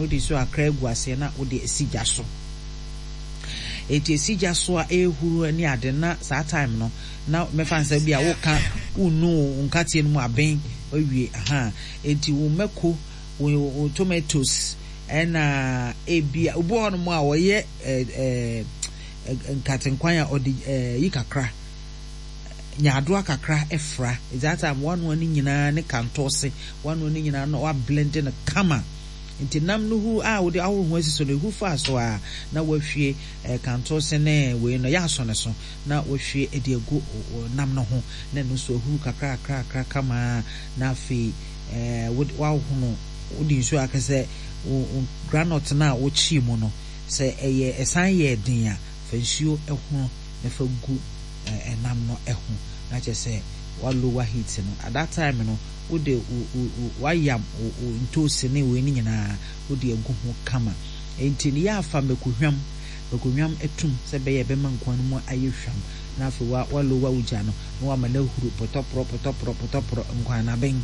no, wode nsuo kakra agu aseɛ na wode asi gya so. Enti esi gya so a ɛrehuru ne ade na saa time no na mɛfa no sɛ bi a woka wonu wo nkateɛ no mu aben awie aha. Enti wo mako, wo, wo tomatoes ɛna ebi a obi wɔ hɔnom a ɔyɛ ɛɛ ɛɛ nkatenkwan a ɔde ɛɛ yi kakra nyaadoa kakra fra. That time wanoa ne nyinaa ne kantɔɔse wanoa ne nyinaa na wablende no kama. Nti nam no hu a wode ahoro ho asi so no, ehu faa so ara na woahwie kantose ne wei no, yɛ asɔ ne so na woahwie de agu nam no ho na ɛno nso ahuru kakra kakra kakra kama ara na afei wode woahono wode nsuo aka sɛ wo groundnut no a wokyee mu no sɛ ɛyɛ ɛsan yɛɛ den a fa nsuo hono na fa gu nam no ho na kyerɛ sɛ wa lower heat no at that time no wode wo wo wo wayam wo wo ntoosi ne wei no nyinaa wode agu ho kama. Enti no yɛ a fa mako hwam, mako hwam atum sɛ ɛbɛyɛ a ɛbɛma nkwan no mu ayɛ hwam na afei wa wa lower wo gya no na wama no ahuru pɔtɔporɔ pɔtɔporɔ pɔtɔporɔ nkwan no aben.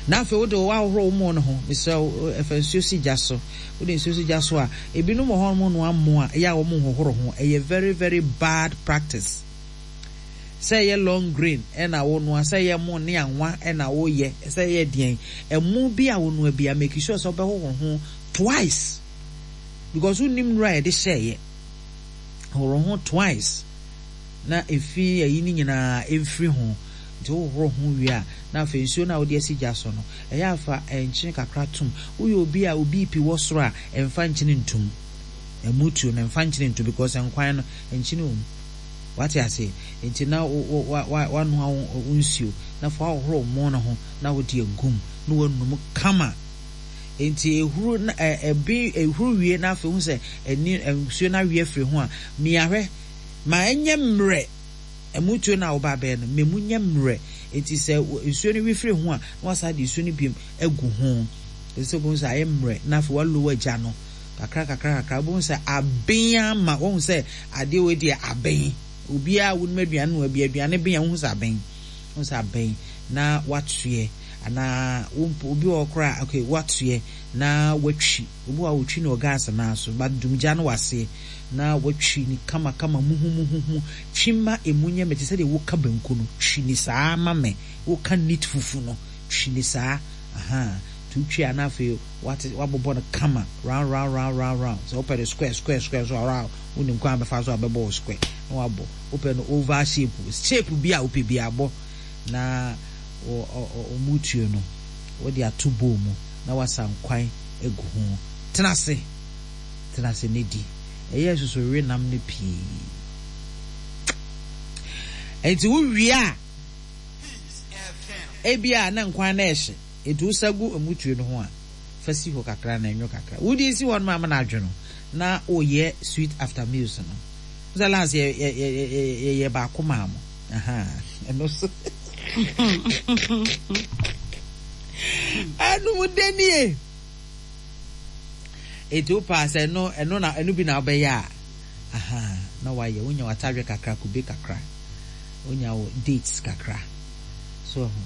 Na afei wode woahohoro wo mo no ho, mesrɛ wo fa nsuo si gya so. Wode nsuo si gya so a, ebinom wɔ hɔ nom noa mo a ɛyɛ a wɔn nhohoro ho, ɛyɛ very very bad practice. Sɛ ɛyɛ long grain na wonoa, sɛ ɛyɛ ɛmo ne anwa na woyɛ, sɛ ɛyɛ deɛn, ɛmo bi a wonoa biara make sure sɛ wobɛhohoro ho twice because wonnim nnuro a yɛde hyɛeɛ. Hohoro ho twice na efi ayi no nyinaa mfiri ho. Nti wohohoro ho wie a, na afei nsuo no a wode asi gya so no, ɛyɛ a fa nkyene kakra tom. Woyɛ obi a wo BP wɔ soro a, mfa nkyene ntom. Ɛmo tuo no, mfa nkyene ntom because nkwan no, nkyene wɔ mu. Wate aseɛ? Enti na wo, wo, wa, wa, wanoa wo, wo nsuo, na afei woahohoro wo mo no ho, na wode agu mu, na woanum kama. Enti ehuru na, ɛ, ɛben, ehuru wie na afei wohu sɛ ani, nsuo no awe afiri ho a, mia hwɛ. Ma ɛnyɛ mmerɛ. Ɛmo tuo no a woba abɛyɛ no, ma emu nyɛ mmerɛ. Enti sɛ nsuo no we firi ho a, na woasan de nsuo no biom agu ho. Ɛsɛ sɛ wobɛhu sɛ ayɛ mmerɛ, na afei woalowa gya no. Kakra kakra kakra wobɛhu sɛ aben ama woahu sɛ adeɛ wei deɛ aben. Obiara a wonim aduane noa bi, aduane ben a wohu sɛ aben. Wohu sɛ aben na watoɛ anaa wo mpo obi wɔ hɔ koraa okay watoɛ na watwi. Obi wɔ hɔ a otwi no wɔ gas naa so but dumgya no wɔ aseɛ na watwi no kama kama muhumuhumu. Twi ma emu nyɛ mɛ te sɛ deɛ woka banku no, twi no saa ma mɛ. Woka neat fufu no, twi no saa ahaa. Nti wotwi a na afei Wate, wabobɔ no kama, round, round, round, round, round. Sɛ wopɛ no square, square, square nso a, round, wonim kwan a bɛfa so a bɛbɔ wo square na wabɔ. Wopɛ no oval shape, shape bi a wopɛ biara bɔ na wo, ɔ, ɔ, ɔmutuo no, wode ato bowl mu na wasa nkwan agu ho. Tena ase, tena ase na di. Ɛyɛ susu we nam no pii. Enti wowie a, ebia na nkwan no ɛhye. Enti wosa gu mmutuo no ho a, fa si hɔ kakra na ɛnwo kakra. Wode si hɔ no ma ama no adwo no, na woyɛ sweet after meals no. Wo sɛ last yɛ yɛ yɛ yɛ yɛyɛ baako maa mo. Ahaa, ɛno so. Ɛnum dɛ nie. Enti wo paa sɛ ɛno ɛno na ɛno bi na wobɛyɛ a, ahaa, na wayɛ. Wonya w'atadwe kakra, kube kakra. Wonya wo dates kakra. So wahu?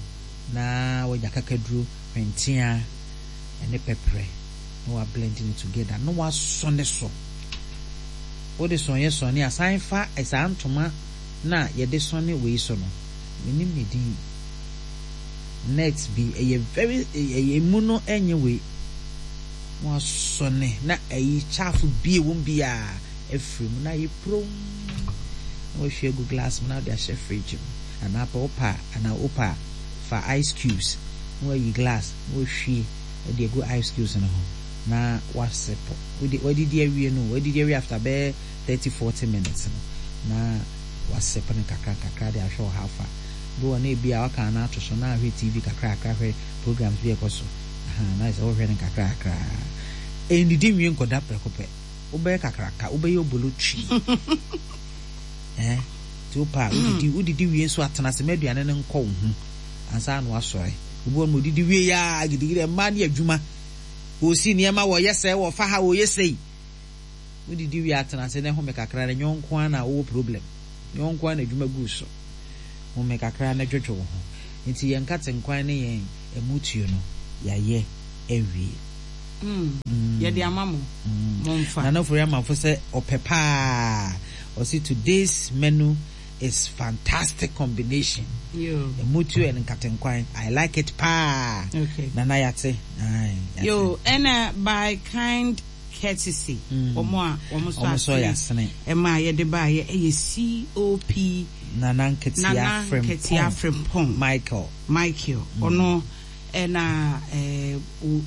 Na wanya kakaduro, hwenteaa, ne pɛprɛ na wa blend no together na wasɔne so. Wode sɔneɛ sɔne a, san fa saa ntoma no a yɛde sɔne wei so no, mennim ne din, net bi, ɛyɛ very, ɛyɛ emu no ɛnyɛ wei, na wasɔne na ayi chaff bi a ɛwɔ mu biara afiri mu na ayɛ purom na wahwie agu glass mu na wode ahyɛ fridge mu. Anaa pɛ wopɛ a anaa wopɛ a fa ice cubes na wayi glass na wahwie de agu ice cubes no ho na wasepɔ. Wode wadidi awie no wadidi awie after bɛyɛ 30 40 minutes no na wasep no kakra kakra de ahwɛ wo how far. Bi wɔ na ebi a waka ana ato so na ahwɛ TV kakra kakra hwɛ programs bi a ɛkɔ so. Aha na ayɛ sɛ wohwɛ no kakra kakra. Ɛnnidi nwie nkɔda prɛko pɛ. Wobɛyɛ kakraka wobɛyɛ obolo twi. Eh, nti wopɛ a wodidi, wodidi wie nso a tena ase ma aduane no nkɔ wo ho ansa na wasɔre. Obi wɔ no odidi wie ya gidigidi, mmaa ne adwuma, wɔsi nneɛma, wɔyɛ sɛ, wɔfa ha, wɔyɛ sei. Wodidi wie a tena ase na home kakra na nyɛ wo nko ara na wowɔ problem, nyɛ wo nko ara na adwuma gu so. Home kakra na dwodwo wo ho. Nti yɛn nkatenkwan ne yɛn ɛmutuo no, yɛayɛ awie. Yɛde ama mo, momfa. Nana Ofori Amanfo sɛ ɔpɛ paa. Ɔse today's menu is fantastic combination. Emutuo and nkatenkwan. I like it paa. Okay. Nana yate. Aye, yate. Yo, ɛna by kind courtesy. Wɔn a wɔn sɔ asene ɛma yɛde baayɛ ɛyɛ COP. Nana Nketia Nana Nketia Frimpong. Michael. Michael. Ɔno ɛna ɛɛ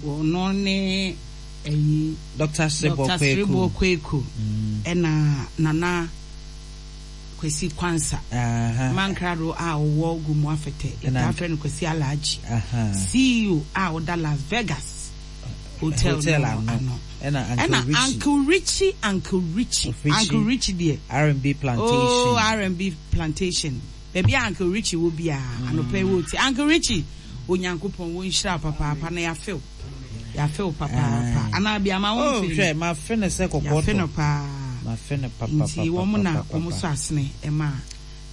ɔno ne ɛyi. Dr. Srebo Dr. Srebo Kweku. Ɛna Nana Kwesi Kwansa. Mankrado a ɔwɔ Gomoa Fete. Yɛtaa frɛ no Kwesi Alhaji. CEO a ɔda Las Vegas Hotel Hotel no ano. ano. Ɛna Ɛna Uncle Richie. Uncle Richie, Uncle Richie, Richie. Uncle Richie deɛ. R&B Plantation. Oh, R&B Plantation. Baabi a Uncle Richie wɔ biara, anɔpa yi wɔ ti. Uncle Richie, Onyankopɔn wɔ nhyira wo papaapa na yɛafe wo. Yɛafe wo papaapa. Anaa bi ama wo Oh, mfe hwɛ, mafe no sɛ kɔkɔɔ Yɛafe tɔ. no paa. Mafe no Nti wɔn na wɔn papapapapapa. sɔ asene ɛma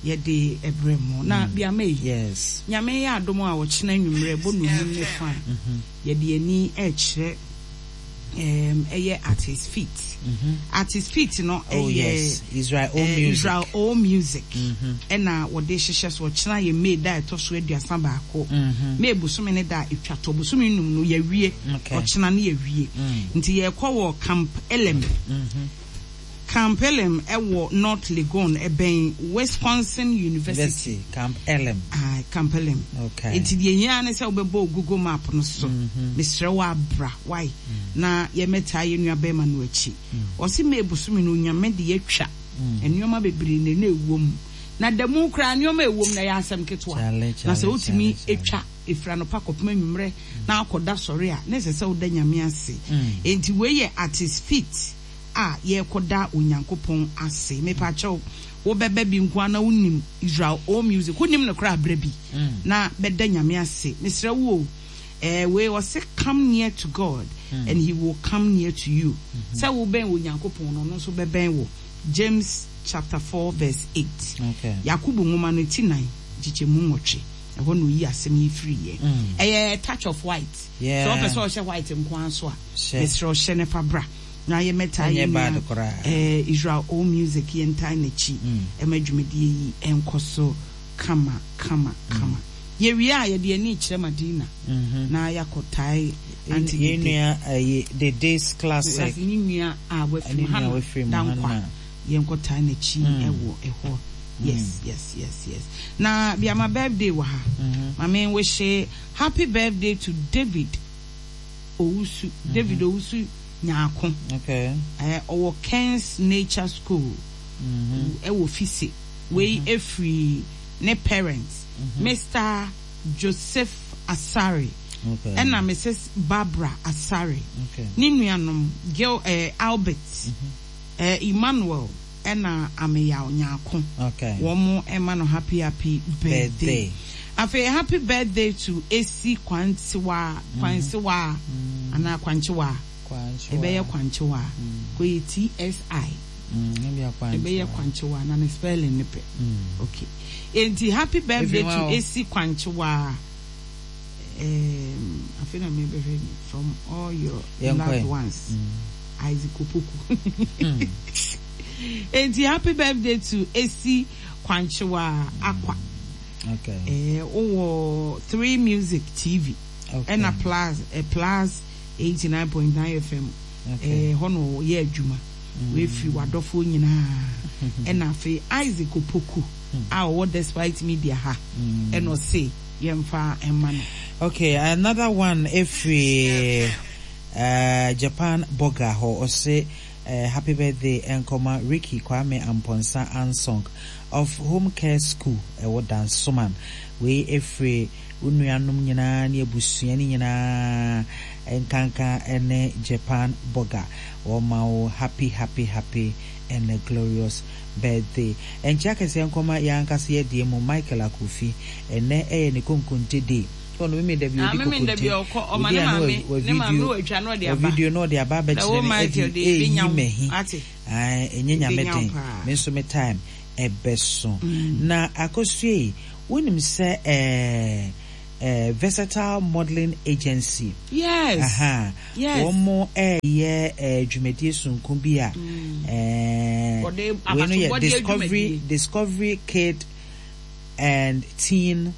yɛde ɛbrɛ mo. Na bi ama yi. Yes. Nyame yɛ adom a ɔkyena anwummerɛ bɔ nonum ne fa a, yɛde ani ɛrekyerɛ ɛyɛ At His Feet. At His Feet no Oh, ɛyɛ yes. Israel O Music. Israel O Music ɛna wɔde hyehyɛ so. Ɔkyena yɛ May da a ɛtɔ so 31. May bosome ne da a ɛtwa to. Bosome num no yɛawie. Ɔkyena no yɛawie. Nti yɛrekɔ wɔ Camp Elim. Camp Elim ɛwɔ North Legon, ɛbɛn Wisconsin University. University, Camp Elim. Ah, Camp Elim. Okay. Nti deɛ hia ne sɛ wobɛbɔ wo Google Map no so. Mesrɛ wo abra, why? Na yɛmmɛtaa yɛn nua bɛrima no akyi. Ɔse May bosome no Onyame de yɛatwa nneɛma bebree na ɛna ɛwɔ mu. Na da mu koraa nneɛma a ɛwɔ mu no ɛyɛ asɛm ketewa. Chale, Na sɛ chale, wotumi chale, chale. twa ɛfiri anɔpa kɔpem anwummerɛ na akɔda sɔre a, na ɛsɛ sɛ woda Nyame ase. Enti wei yɛ at his feet a yɛrekɔda Onyankopɔn ase. Mepakyɛw, wobɛba bi nko ara na wonim Israel O Music, wonnim no koraa a bra bi na bɛda Nyame ase. Mesrɛ wo o, eh, wei ɔse come near to God and he will come near to you. Sɛ wobɛn Onyankopɔn no, ɔno nso bɛbɛn wo. James chapter 4 verse 8. Yakobo nwoma no ti 4 nkyekyɛmu 8, ɛhɔ na oyi asɛm yi firiiɛ. Ɛyɛ touch of white. Sɛ wopɛ sɛ ɔhyɛ white nko ara nso a, mesrɛ wo hyɛ no fa bra. Na yɛmmɛtaa Ɛnyɛ yɛn bad nua koraa. eh, Israel All Music yɛntaa n'akyi ɛma dwumadie yi ɛnkɔ so kama kama kama. Yɛwie a yɛde yɛn ani rekyerɛ Madina na yɛakɔtae Auntie Yɛn Dede. nua ɛyi Dede's Classic. Ne nua a wafiri Ne mu nua Hannah wafiri mu Dankwa Hannah. yɛnkɔtae n'akyi ɛwɔ ɛhɔ. Yes yes yes yes. Na bia ma birthday wɔ ha. Ma me wishe happy birthday to David Owusu, David Owusu Nyarko. Okay. Eh, ɔwɔ Ken's Nature School ɛwɔ Fise. Wei efiri ne parents, Mister Joseph Asare Okay. ɛna Mrs. Barbara Asare. Okay. Ne nuanom Gil, eh, Albert, eh, Emmanuel ɛna Ameyaw Nyarko. Okay. Wɔn ɛma no happy happy birthday. Birthday. Afei happy birthday to Esi Kwansewa, Kwansewa anaa Kwankyewaa. Kwankyewaa. Ɛbɛyɛ Kwankyewaa. Kɔyɛ TSI. Ebia Kwankyewaa. Ɛbɛyɛ Kwankyewaa na ne spelling ne pɛ. Okay. Enti happy birthday Efi to hwan o? Esi Kwankyewaa. Um, afei na mebɛhwɛ ni from all your Yɛnkɔ loved ɛ. ones. Isaac Opoku. Enti happy birthday to Esi Kwankyewaa Akwa. Okay. Eh, wowɔ 3 Music TV. Okay. Ɛna Plus, eh, Plus 89.9 FM. Okay. Eh, hɔ na ɔyɛ adwuma. Wefiri w'adɔfoɔ nyinaa. Ɛna afei Isaac Opoku a ɔwɔ Despite Media ha. Ɛna ɔse yɛmfa mma no. Okay, another one efiri Japan Burger hɔ ɔse happy birthday ɛnkɔma Ricky Kwame Amponsah Ansong of Home Care School ɛwɔ Dansoman. Wei efiri wo nuanom nyinaa ne abusua no nyinaa nkanka ɛne Japan Burger. Wɔma wo happy happy happy and a glorious birthday. Ɛnkyɛ akɛseɛ nkɔma yɛn ankasa yɛn deɛ mu Michael Akofi. Ɛnnɛ ɛyɛ ne konkonte day. Ɔno meme da bi Ah, ɔdi meme da bi kokonte. ɔkɔ, ɔma Ɔdi ne a na maame, wa ne maame video, watwa na ɔde wa aba. video na ɔde aba Na abɛkyerɛ wo no Michael ɛdi de ɛyi ebenya wo, mahi. ate? Ae, ɛnyɛ Nyame Ebenya wo den. paa. Me nso me time ɛbɛso. Na Akosua yi, wonim sɛ ɛɛ. eh, Versatile Modeling Agency. Yes. Aha. Yes. Wɔn ɛɛyɛ eh, dwumadie sononko bi a eh, Wɔde wei no yɛ abasobɔdeɛ Discovery dwumadie. Discovery Kid and Teen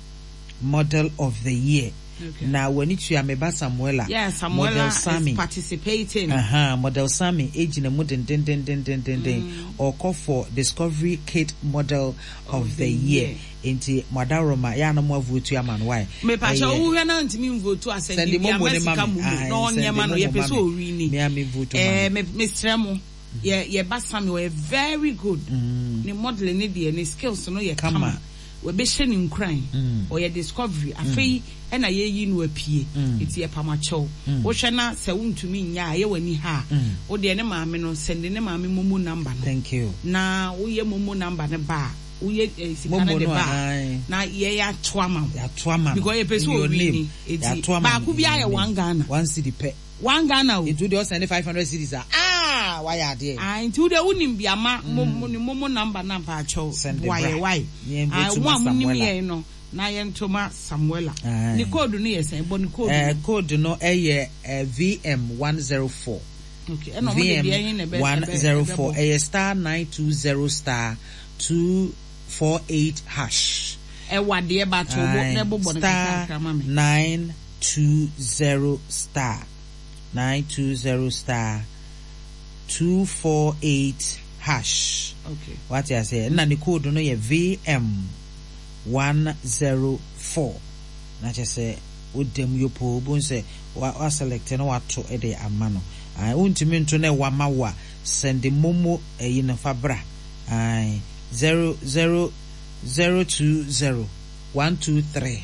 Model of the Year. Okay. Na w'ani tua me ba Samuela. Yeah, Model Samuela is Sammy. participating. Aha, Model Sammy egyina mu dendendendendenden. Ɔkɔ for Discovery Kid Model of the Year. Nti mo adaworoma yɛ a na mo avotu ama no why? Mepakyɛ Ɛyɛ wohwɛ na ntumi nvotu asɛnde sɛnde bi momo ama ne ma sika me. momo Ae, na ɔnyɛ sɛnde ma no momo yɛpɛ ma sɛ me. ɔwini. Me a me vote ma Eh, no. me mesrɛ mo yɛ yɛ ba Sammy ɔyɛ very good. Ne modeling ne deɛ ne skills no yɛ kama. Kama. Wɔbɛhyɛ no nkuran. Ɔyɛ discovery. Afei ɛna yɛyi no apue. Nti yɛpam akyɛw. Wohwɛ na sɛ wontumi nyɛ a ɛyɛ w'ani ha a, wo deɛ ne maame no sɛnde ne maame momo number no. Thank you. Na woyɛ momo number no ba a, woyɛ eh, sika no Momo de no ba a, ae. na yɛyɛ ato ama wo. Yɛato ama no. Because yɛpɛ In sɛ your ɔwini. name. Eti Yɛato ama no baako in biara your yɛ name. one Ghana. One cedi pɛ. One Ghana o. Nti wo deɛ ɔsɛnde 500 cedis a, ah, wayɛ adeɛ. Ah, nti wo deɛ wonim bi ama mo mo ne momo number na mpaakyɛw Sɛnde boa bra. yɛ wae. Na yɛn Ah, vote mo ma a monim Samuela. yɛn no na yɛnto ma Samuela. Aye. Ne code no yɛ sɛn? Bɔ ne code Eh, no. code no ɛyɛ eh, VM104. Okay, ɛna ɔmo de deɛ ɛhe na ɛbɛ ɛbɛ VM104. ɛbɛbɔ. Ɛyɛ star 920 star 248 hash. Ɛwɔ adeɛ ba to bo Aye. na ɛbobɔ no Star kakrakra ma me. 920 star 920 star 248 hash. Okay. Wate aseɛ? Ɛna ne code no yɛ VM104. Na kyerɛ sɛ woda mu yopoo wobɛhu sɛ wa wa select na wato de ama no. Ae, wontumi nto na ɛwɔ ama wo a, send momo ɛyi no fa bra. Ae, 0 0 020 123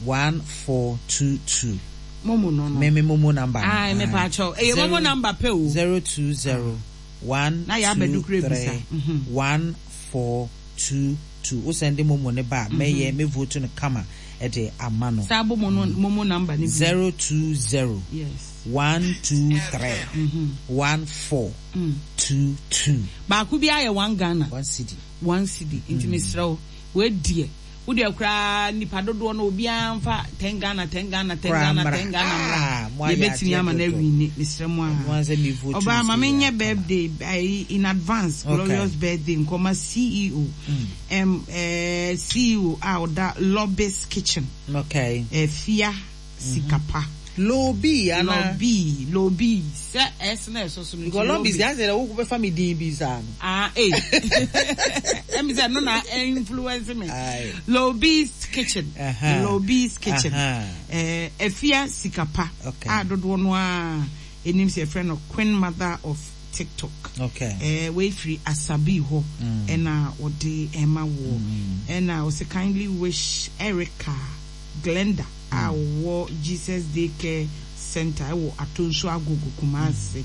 1422. Momo no no. Me me momo number no. Ae, Ae. mepaakyɛw. Ɛyɛ momo Zero number pɛ o. 020 1 Na yɛ 2 abɛdu kura bisa. 3 1 4 2 2. Wo send momo ne ba a, mɛyɛ me vote no kama ɛde ama no. Saa bɔ momo momo number no bi. 020 Yes. 1 2 3 1 4 2 2. Baako bi ayɛ one Ghana. One cedi. One cedi. Nti mesrɛ wo, wɔadiɛ. Wo deɛ koraa nipa dodoɔ no obiara mfa 10 Ghana, 10 Ghana, 10 Koraa Ghana, mmra. 10 Ghana mmra. Ah, mo ayɛ Yɛbɛtumi adeɛ ama no dodo. awini. Mesrɛ mo Ɛno a. ara sɛ me vote Ɔbaa ma nso yɛ menyɛ akama. birthday ayi in advance Okay. glorious birthday nkɔma CEO. Eh, CEO a ɔda Lobby's Kitchen. Okay. Eh, Fia Sikapa. Lobby ana. Lobby, Lobby. Sɛ S na ɛsɔ so no nti Because lobby Lobby. sɛ asɛ dɛ wo bɛfa me din bi saa no. Ah, eh. Ɛmi sɛ no na influence me. Aye. Lobby's Kitchen. Aha. Lobby's Kitchen. Aha. Eh, Afia Sikapa. Okay. A dodoɔ no a enim sɛ yɛfrɛ no Queen Mother of TikTok. Okay. Eh, wei firi Asabi hɔ ɛna wɔde ɛma woɔ. Ɛna ɔsɛ kindly wish Erica Glenda a ɔwɔ Jesus Day Care Center ɛwɔ Atonsu Agogo Kumasi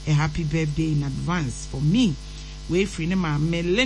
a happy birthday in advance for me. Wei firi ne maame Linda.